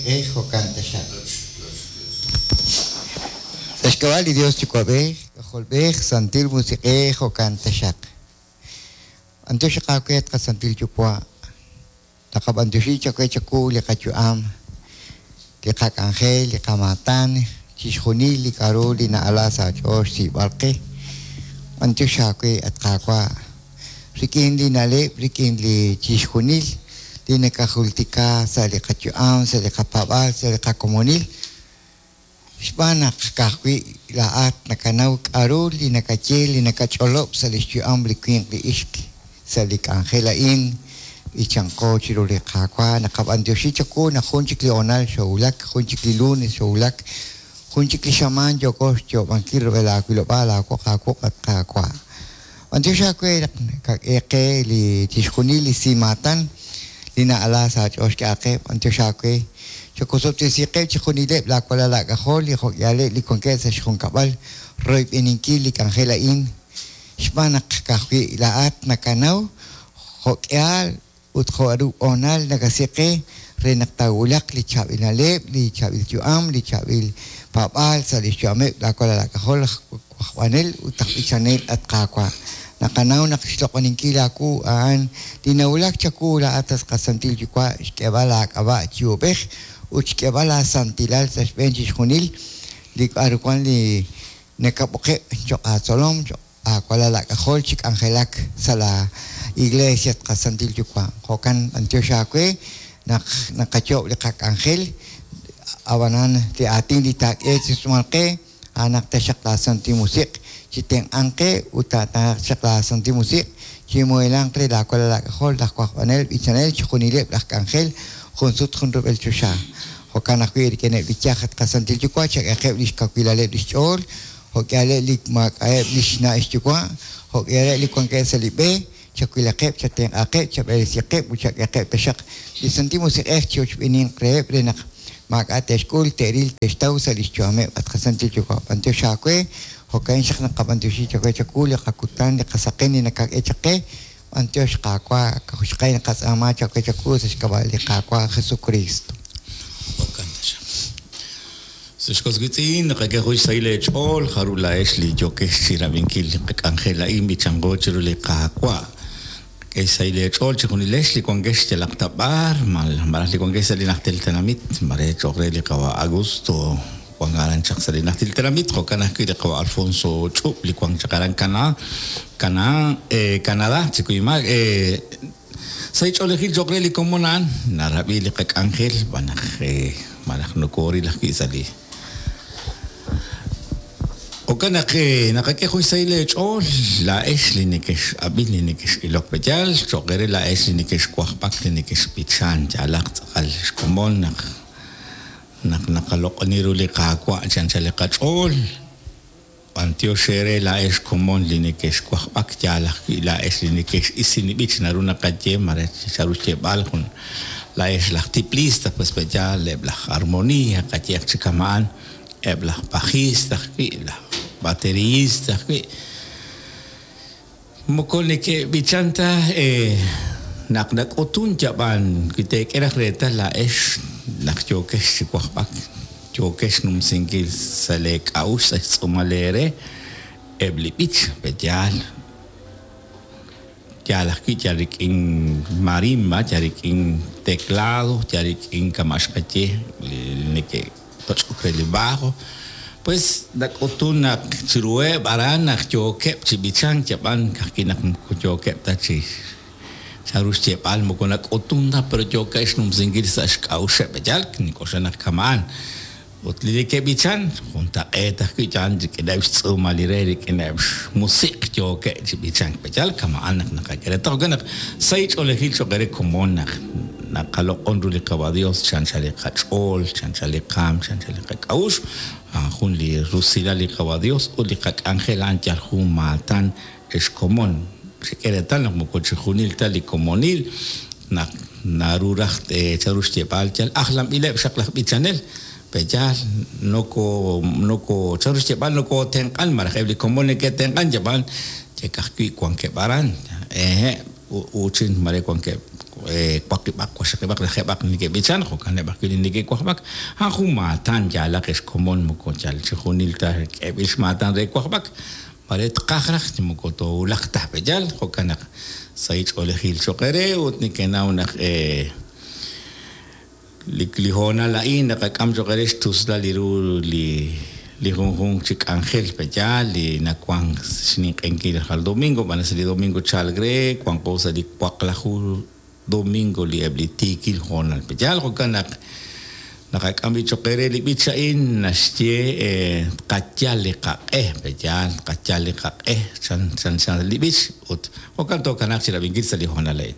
Musiq'ej, jo'kan taxaq. Sa' xk'ab'a' li Dios Yuwa'b'ej, K'ajolb'ej, Santil Musiq'ej, jo'kan taxaq. B'antiox aawe at qaSantil Yuwa', naqab'antioxi chawe chawu li qayu'am, li qak'anjel, li qamaatan, chixjunil li k'a'ru li na'ala sa' aach'ool xsiib'al qe. B'antiox aawe at Qaawa', rik'in li na'leb', rik'in li chixjunil li nakajultika sa' li qayu'am, sa' li qapaab'aal, sa' li qakomonil, Xb'aan naq ka'ajwi' laa'at nakanaw k'a'ru li nakaye li nakach'olob' sa' lix yu'am li winq li ixq sa' li k'anjel a'in, b'ichanqo chiru li Qaawa'. Naqab'antioxi chawu naq jun chik li hoonal xoowulak, jun chik li lunes xoowulak, jun chik li xamaan yooko xyoob'ankil rub'el aawilob'aal aawoq aawuq' at Qaawa'. B'antiox aawe naq nakak'e qe li chixjunil li simaatan li na'ala sa' aach'ool xk'e aaqe. B'antiox aawe chawosob'tesiqeb' chixjunileb' laa walal aak'ajol li jo'k'ihaleb' li wankeb' sa' xjunkab'al royb'eninkil li k'anjel a'in, xb'aan naq ka'ajwi' laa'at nakanaw jo'k'ihal ut jo' ru hoonal nakasi qe re naq taawulaq li chaab'il na'leb', li chaab'il yu'am, li chaab'il paab'aal sa' lix yu'ameb' laa walal aak'ajol aj wajb'anel ut aj b'ichanel, at Qaawa'. Naqanaw naq xloq'oninkil aawu a'an li nawulak chawu laa'at at qaSantil Yuwa' xk'eeb'al aak'ab'a' chi uub'ej ut xk'eeb'al aasantilal sa' xb'een chixjunil li k'a'ru wan li nakab'oqeb' choq' aatzolom, choq' Aawalal aak'ajol chi k'anjelak sa' laa iglesia at qaSantil Yuwa'. Jo'kan b'antiox aawe naq naqayoob' li qak'anjel, a'b'anan li aatin li taak'e chi sumal qe, a'anaq taxaq laa Santil Musiq' chi tenq'anq qe ut taataqaq chaq laa Santil Musiq' chi muhelanq re laa walal aak'ajol, laj wajb'anel, b'ichanel, chixjunileb' laj k'anjel jun sut jun rub'el choxa. Jo'kan ajwi' rik'ineb' li yaj at qaSantil Yuwa' chak'ehaqeb' lix kawilaleb' lix ch'ool Jo' k'ihaleb' li maak'a'eb' li xna' xyuwa', jo' k'ihaleb' li wankeb' sa' li b'e, chawilaqeb', chatenq'aqeb', chab'eresiqeb' ut chak'ehaqeb' taxaq li Santil Musiq'ej chi ochb'eeninq reheb' re naq maak'a' te'xk'ul, te'ril, te'xtaw sa' lix yu'ameb'. At qaSantil Yuwa', b'antiox aawe, jo'ka'in xaq naqab'antioxi chawe chawu li qakutan, li qasaqen li nakak'e chaq qe, b'antiox Qaawa', ka'ajwi' naqatz'aama chawe chawu sa' xk'ab'a' li Qaawa' Jesukristo. Jo'kan taxaq. Sa' xkos witz'in, naqak'e jun xsahil eech'ool, jarub' laa'ex li yookex chi rab'inkil li qak'anjel a'in b'ichanqo chiru li Qaawa'. Qak'e xsahil eech'ool chejunilex li wankex yalaq ta b'ar, malaj li wankex sa' li najtil tenamit, mare cho'q re li qawa' Augusto wank aran chaq sa' li najtil tenamit, jo'kan ajwi' li qawa' Alfonso Ch'ub' li wank chaq aran Canadá, Canadá, chi kuyumaak, Sahil ch'oolejil cho'q re li komon a'an, narab'i li qak'anjel xb'aan naq malaj nokooril ajwi' sa' li. Jo'kan naq naqak'e jun xsahil eech'ool laa'ex li nekex'ab'in, li nekex'ilok. Pe'yaal cho'q eere laa'ex li nekexwajb'ak, li nekexb'ichank, yaalaq tz'aqal xkomon naq naq naqaloq'oni ru li Qaawa' chi anchal li qach'ool. B'antiox eere laa'ex komon li nekexwajb'ak, yaal ajwi' laa'ex li nekex'isin li b'ich, naru naqaye mare charu xyeeb'al jun laa'ex laj tiplista, pues pe' yaal eb' laj armonia, qayehaq chi kama'an, eb' laj bajista ajwi', laj bateriista ajwi'. Moko neke'b'ichan ta naq nak'utun yab'an wi teek'e raj reetal laa'ex naq yookex chi wajb'ak, yookex xnumsinkil sa' lee k'a'uxl sa' xtz'uumal eere eb' li b'ich, pe' yaal? Yaal ajwi' yal rik'in marimba, yal rik'in teclado, yal rik'in kama' xqaye li neke' toch'ok re li bajo, pues nak'utun naq chiruheb' aran naq yookeb' chi b'ichank yab'an ka'ajwi' naq moko yookeb' ta chi chanru xyeeb'al moko nak'utun ta pero yookeb' xnumsinkil sa' xk'a'uxeb' yal nink'oxla naq kama'an ut li neke'b'ichan juntaq'eet ajwi' yal rik'ineb' xtz'uumal li re rik'ineb' xmusiq' yookeb' chi b'ichank yal kama'an naq naqak'e reetal jo'kan naq sahil ch'oolejil cho'q eere komon naq Naqaloq'on ru li Qawa' Dios chi anchal li qach'ool, chi anchal li qaam, chi anchal li qak'a'uxl. A'an jun li rusilal li Qawa' Dios ut li qak'anjel a'an yal jun maatan ex komon. Xek'e reetal naq moko chixjunil ta li komonil naq naru raj chanru xyeeb'al yal ajlanb'ileb' xaq laj b'ichanel. Pe' yaal noko noko chanru xyeeb'al nokotenq'an malaj eb' li komon neke'tenq'an yab'an yal ka'ajwi' wankeb' aran. Ehe'. Uuchin mare wankeb' waqib'aq, waqxaqib'aq, lajeeb'aq neke'b'ichan, jo'kaneb' ajwi' li neke'wajb'ak. A'an jun maatan yaalaq ex komon moko yal chixjunil ta k'eeb'il xmaatan re wajb'ak. Mare tqaj raj chi moko toowulaq ta, pe'yaal? Jo'kan naq sahil ch'oolejil cho'q eere ut nekenaw naq li hoonal a'in naqak'am cho'q eere xtuslal li ru li li junjunq chi k'anjel, pe'yaal? Li nawank xninq'ehinkil rajlal domingo, b'an sa' li domingo chalk re, wanqo sa' li waqlaju domingo li eb' li tiikil hoonal. Pe'yaal? Jo'kan naq naqak'am b'i' cho'q eere li b'ich a'in naxye tqayal li qaq'e, pe'yaal? Tqayal li qaq'e chan chan li b'ich ut jo'kan tookanaaq chi rab'inkil sa' li hoonal a'in.